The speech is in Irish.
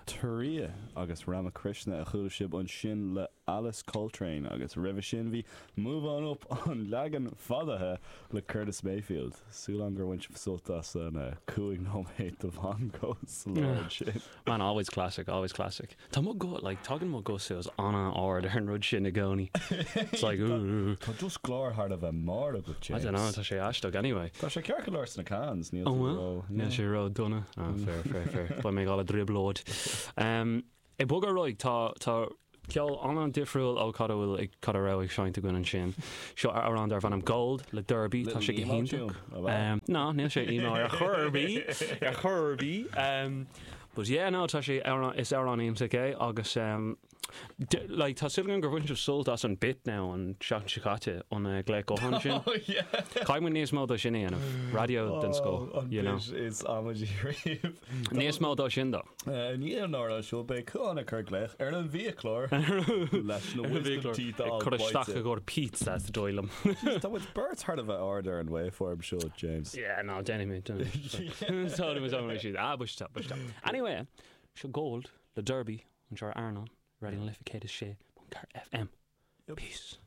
Turiya agus Ramakrishna a chuala sibh ansin le Alice Coltrane agus roimhe sin bhí Move On Up an leagan fadaithe le Curtis Mayfield. Súil agam gur bhain sibh sult as an 5 nóiméad de mhangó sa lár ansin. Man, always classic, always classic. Tá mo guth, like, tagann mo guth suas an-ard ar an rud sin i gcónaí. It's like, ooh. Tá just glór thar a bheith mear agat, James. I don't know, tá sé aisteach anyway. Tá sé ceart go leor sna cans, níl tú ró... Níl sé ró dona. Ah, fair, fair, fair. Beidh mé ag dul i dtrioblóid. Um, ag bogadh ar aghaidh, tá, tá ceol an-difriúil ó cad a bhfuil ag, cad a raibh ag seinnt againn ansin. Seo amhrán darb ainm Gold le Derby, tá sé go hiontach. Um, no, níl sé emo ar chor ar bith, ar chor ar bith. Um, but yeah, no, tá sé amhrán, is amhrán iontach é agus um, Like, tá súil agam gur bhain sibh sult as an bit now an tseachtain seo caite, an glaoch gutháin sin. Oh, yeah. Caithfidh muid níos mó de sin a dhéanamh. Raidió den scoth, Oh, an you know. bit is amaidí riamh. Níos mó de sin, though. I ndiaidh an amhráin seo, beidh Cuán ag cur glaoch ar an bhfiaclóir leis na wisdom teeth a Ag fháil cur isteach bainte. i gcomhair pizza, is dóigh liom. Jeez, tá muid beirt thar a bheith ard ar an waveform seo, James. Yeah, no, déanfaidh mé, déanfaidh mé. Sorry, sorry, sorry. Ah, bush top, bush top. Anyway, seo Gold le Derby. Anseo ar Airneán, Raidió na Life 106.4 FM. Peace.